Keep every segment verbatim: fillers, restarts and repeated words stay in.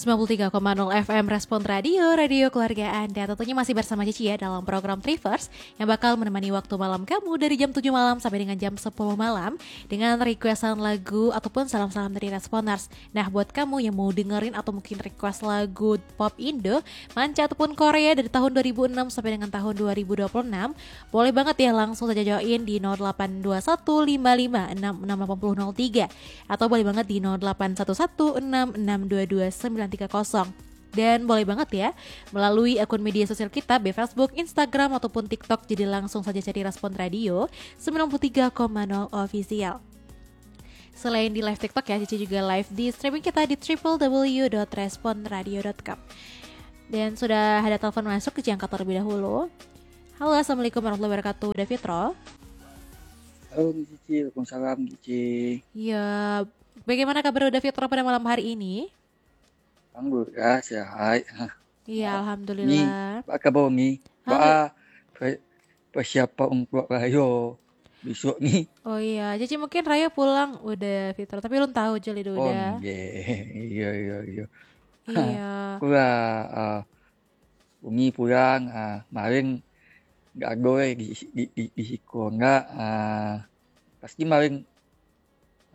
sembilan puluh tiga koma nol F M Respon Radio, radio keluarga Anda. Tentunya masih bersama Cici ya dalam program Trivers yang bakal menemani waktu malam kamu dari jam tujuh malam sampai dengan jam sepuluh malam dengan requestan lagu ataupun salam-salam dari Responers. Nah, buat kamu yang mau dengerin atau mungkin request lagu pop Indo, manca ataupun Korea dari tahun dua ribu enam sampai dengan tahun dua ribu dua puluh enam, boleh banget ya langsung saja join di nol delapan dua satu lima lima enam enam delapan nol tiga atau boleh banget di nol delapan satu satu enam enam dua dua sembilan tiga kosong. Dan boleh banget ya, melalui akun media sosial kita, baik Facebook, Instagram, ataupun TikTok. Jadi langsung saja cari Respon Radio sembilan puluh tiga koma nol Official. Selain di live TikTok ya, Cici juga live di streaming kita di triple W dot respon radio dot com. Dan sudah ada telepon masuk, Cici angkat terlebih dahulu. Halo, assalamualaikum warahmatullahi wabarakatuh, Uda Fitro. Halo, Cici. Waalaikumsalam, Cici. Ya, bagaimana kabar Uda Fitro pada malam hari ini? Alhamdulillah, sehat. Iya, alhamdulillah. Ni, apa kabar ni? Alhamdulillah. Ba, pe-, persiapan untuak rayo besok ni. Oh iya, jadi mungkin rayo pulang Uda Fitro, tapi ulun tahu je lidu Uda. Oh, iya. Iya, iya, iya. Iya. Kurang, ah, Umi pulang, ah, maring gak ado, eh, di, di, di, di siko enggak, ah, pasti maring,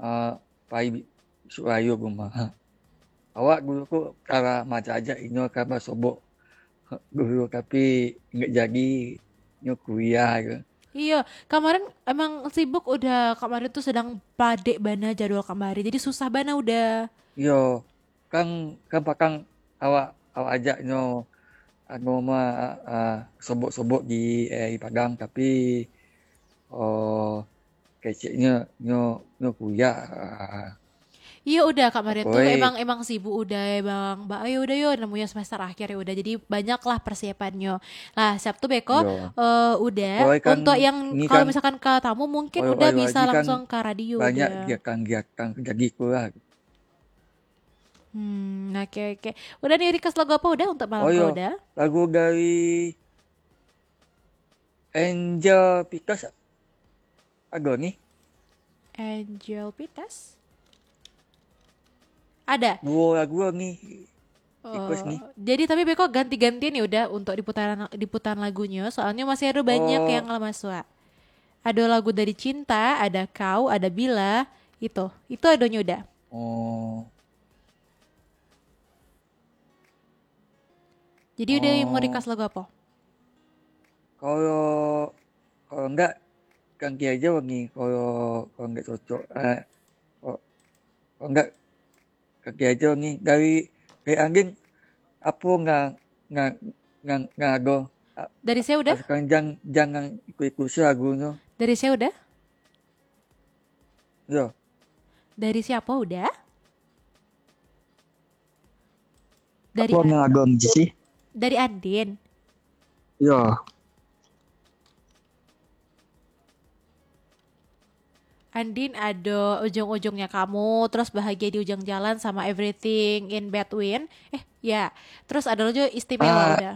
ah, pai bi-, isuk rayo rumah. Awak dulu ko kara majajak inyo ka basobok dulu, tapi enggak jadi, inyo kuliah ko. Iya, kemarin emang sibuk Uda, kemarin tuh sedang padek bana jadwal kemarin, jadi susah bana Uda. Iyo, kan, kan pakang awak, awak ajak nyo, anu mah, ah, sobok-sobok di, eh, di Padang, tapi, oh, keceknyo nyo, nyo kuliah, ah. Iyo Uda, kemarin tuh emang, emang sibuk Uda, emang, ba, ayo Uda yo, namonyo semester akhir ya Uda, jadi banyaklah persiapannyo. Lah, Sabtu beko, eh, Uda, untuk yang kalau misalkan ka tamu, mungkin Uda bisa langsung ka radio Uda. Banyak kegiatan-kegiatan jadi itulah. Hmm, oke, oke. Uda ni request lagu apa Uda untuk malam ko Uda? Lagu dari Angel Pitas ado ni. Angel Pitas? Ada. Duo lagu ni. Request ni. Oh, jadi tapi beko ganti-gantian ya Uda untuk diputaran, diputaran lagunyo, soalnyo masih ado banyak yang lah masuak. Ado lagu dari Cinta, ada Kau, ada Bila, itu. Itu adonyo Uda. Oh. Jadi Uda mau request lagu apa? Kalau, kalau enggak, ganti aja ni. Kalau, kalau enggak cocok, eh, kalau, kalau enggak, ganti aja ni. Dari, dari Andin, apa nggak, nggak, nggak, nggak ada? Dari saya Uda? Sekarang jangan, jangan ikut-ikut saya lagunya. Dari saya Uda? Yo. Dari siapa Uda? Dari Apa yang agam sih? Dari Andin. Yo. Andin ado Ujung-Ujungnya Kamu, terus Bahagia di Ujung Jalan, sama Everything in Between. Eh, ya. Terus ada lagi Istimewa. Ah, Uda.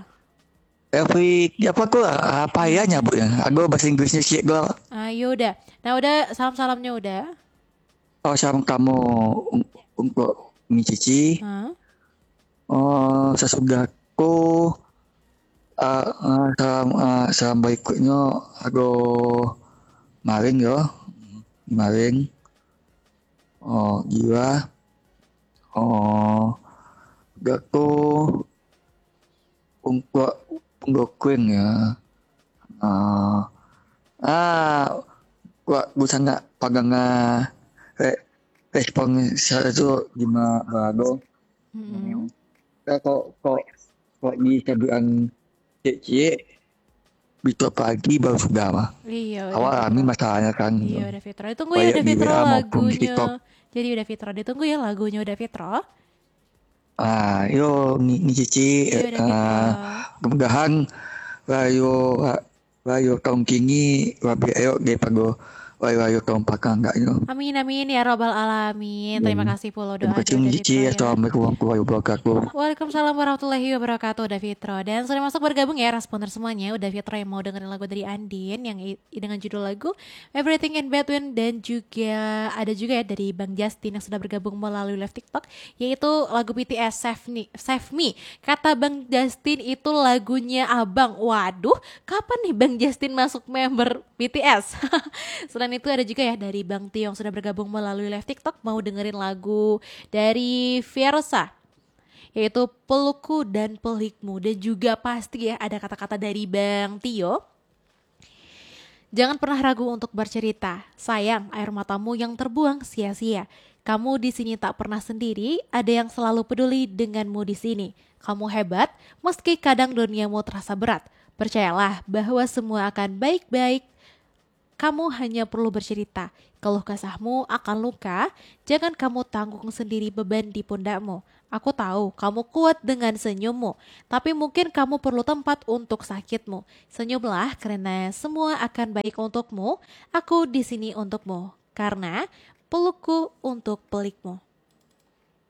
Every, apa ko, apa ya nyebutnya? Aku bahasa Inggrisnya sikit ko. Ah, yo Uda. Nah, Uda, salam-salamnya Uda. Oh, salam kamu un-, untuk Umi Cici. Ha? Oh, sasudah ko, ah, ah, salam, ah, salam berikutnya, ago Maring yo. Maring. Oh, Jiwa. Oh, Gako. Ungkuak punggokuing ya. Ah, ah, kuak busangak paganga re-, respon saya tu lima bago. Hmm. Kok, kok, kok ni saduan ciek-ciek besok pagi baru sudah mah. Iya, Uda Fitro. Awak rami masalahnya kan. Iya, Uda Fitro. Ditunggu ya, Uda Fitro, lagunyo. Jadi Uda Fitro, ditunggu ya lagunyo Uda Fitro. Ah, yo, ni, ni Cici, Iyo, Uda Fitro. Ah, mudah-mudahan rayo, rayo tahun kini lebih elok daripada Ayo, ayo, kawan pakang agaknyo. Amin, amin, ya robbal alamin. Terima kasih pulo doa. Terima kasih, Cik. Assalamualaikum warahmatullahi wabarakatuh. Waalaikumsalam warahmatullahi wabarakatuh, Uda Fitro. Dan sudah masuk bergabung ya responder semuanya, Uda Fitro yang mau dengerin lagu dari Andin yang i- dengan judul lagu Everything in Between, dan juga ada juga ya dari Bang Justin yang sudah bergabung melalui live TikTok, yaitu lagu B T S Save Me. Save Me. Kata Bang Justin itu lagunya abang. Waduh, kapan nih Bang Justin masuk member B T S? Selain itu ada juga ya dari Bang Tio yang sudah bergabung melalui live TikTok, mau dengerin lagu dari Fiersa, yaitu Pelukku dan Pelikmu. Dan juga pasti ya ada kata-kata dari Bang Tio. Jangan pernah ragu untuk bercerita. Sayang, air matamu yang terbuang sia-sia. Kamu di sini tak pernah sendiri, ada yang selalu peduli denganmu di sini. Kamu hebat, meski kadang duniamu terasa berat. Percayalah bahwa semua akan baik-baik. Kamu hanya perlu bercerita. Keluh kesahmu akan luka, jangan kamu tanggung sendiri beban di pundakmu. Aku tahu kamu kuat dengan senyummu, tapi mungkin kamu perlu tempat untuk sakitmu. Senyumlah, karena semua akan baik untukmu. Aku di sini untukmu, karena pelukku untuk pelikmu.